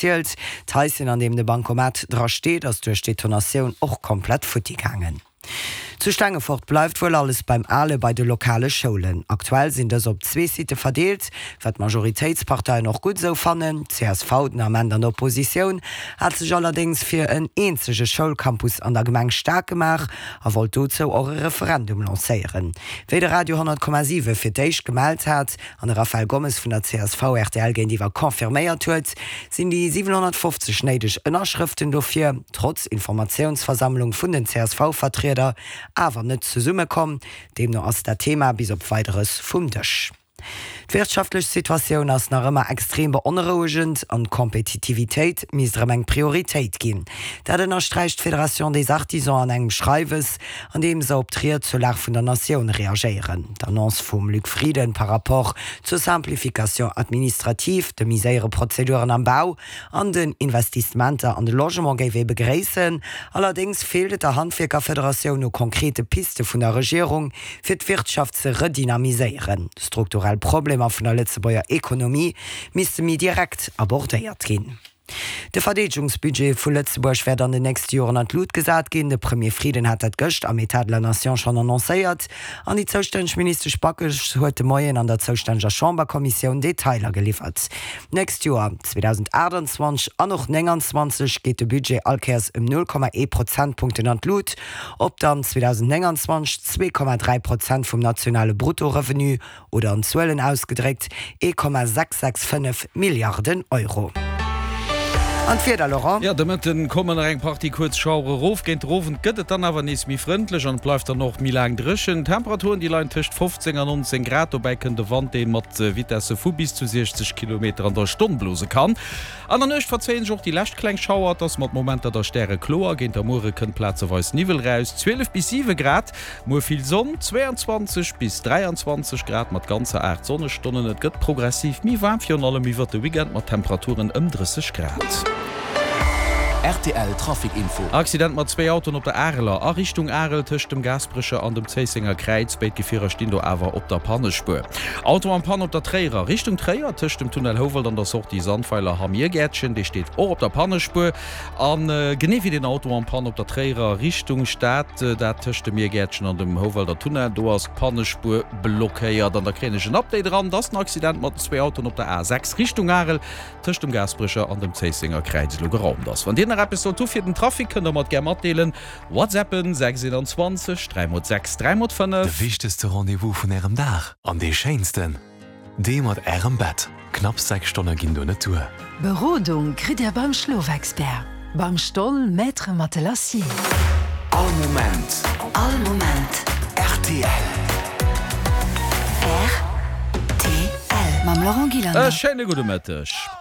Zielt. D'Haischen, an deem de Bancomat dra steet, ass duerch d'Detonatioun och komplett futti gaangen. Zu Stengefort bleift wuel alles beim Ale bei de lokale Schoulen. Aktuell sinn dës op zwee Sitte verdeelt, wat d'Majoritéitsparteien och gutt esou fannen. D'CSV, den Ament an der Oppositioun, hat sech allerdéngs fir en eenzege Schoulcampus an der Gemeng staark gemaach a wollt dozou och e Referendum lancéieren. Wéi de Radio 10,7 fir d'éischt gemellt hat, an de Rafael Gomes vun der csv rtl géintiwwer confirméiert huet, sinn déi 750 néideg Ënnerschrëften dofir, trotz Informatiounsversammlung vun den CSV-Vertrieder, awer net zesummekomm. Deemno ass dat Thema bis op Weideres vum Dësch. D'wirtschaftlech Situatioun ass nach ëmmer extrem beonrouegend an d'Kompetitivitéit misst erëm eng Prioritéit ginn. Dat ënnersträicht d'Fédération des Artisans an engem Schreiwes, an deem se op d'Ried zur Lag vun der Natioun reagéieren. D'Annonce vum Luc Frieden par rapport zur Simplification administrative, de méi séiere Prozeduren am Bau an den Investissementer an de Logement géif ee begréissen. Allerdéngs feelt et der Handwierkerfederatioun u konkrete Piste vun der Regierung, fir d'Wirtschaft ze redynamiséieren. Strukturell Problemer vun der Lëtzebuerger Ekonomie misste méi direkt abordéiert ginn. De Verdeedegungsbudget vu Lëtzebuerg wäert an den nächste Joren an d'Lut gesat ginn. De Premier Frieden hat dat gëscht am Etat de la Nation schonn annoncéiert. An déi zoustänneg Ministesch Backes huet de Moien an der zoustänneger Chamberkommissioun Detailer geliwwert. D'nächst Joer, 2028 an och 29, geet de Budget all Kéiers ëm 0,1 Prozentpunkten an d'Lut, op dann 2029 2,3 Prozent vum nationale Bruttorevenu Oder an Zuelen ausgedréckt, 1,665 Milliarden Euro. An d'Wieder, Laurent? Jo, de Mëtten kommen nach eng Partie kuerz Schauere rof. Géint den Owend gëtt et dann awer nees méi frëndlech an et bleift dann och méi laang dréchen. D'Temperaturen, déi leien tëscht 15 an 19 Grad. Dobäi kënnt e Wand, dee mat Vitesse vu bis zu 60 Kilometer an der Stonn blose kann. An der Nuecht verzéien sech och déi lescht kleng Schauer. Et ass mat Momenter da stärekloer. Géint der Muere kënnt plazeweis Niwwel raus, 12 bis 7 Grad. Muer vill Sonn, 22 bis 23 Grad mat ganzer 8 Sonnestonnen. Et gëtt progressiv méi waarm, virun allem iwwert de Weekend mat Temperaturen ëm 30 Grad. Rtl Trafic Info. Accident mat zwéi Autoen op der Areler a Richtung Arel tëscht dem Gaasperecher an dem Zéissenger Kräiz. Béid Gefierer stinn do awer op der Pannespuer. Auto en Panne op der Tréierer Richtung Tréier tëscht dem Tunnel Houwald an der Sortie Sandweiler Hamm Irgäertchen. Dee steet och op der Pannespuer. A genee wéi den Auto en panne op der Tréierer Richtung Stad, dat tëscht dem Miergäertchen an dem Houwalder Tunnel, do ass d'Pannespuer blockéiert. An da kréien ech en Update eran, dass den Accident mat den zwee Autoen op der A6 Richtung Arel tëscht dem Gaasperecher an dem Zéissenger Kräiz elo geraumt ass. Wann Dir nach eppes sollt hu fir den Trafic, kënnt der mer et gär matdeelen. Whatsappen 6 21 3 x 6 3 x 5. De wichtegste Rendez-vous vun Ärem Dag an dee schéinsten! Dee mat Ärem Bett. Knapps 6 Stonne ginn do net duer. Berodung kritt Dir beim Schlofexpert, beim Stoll Maître Matelassier. All Moment. All Moment. Rtl. Rtl. Mam Laurent Gillander. E schéine gudde Mëtteg.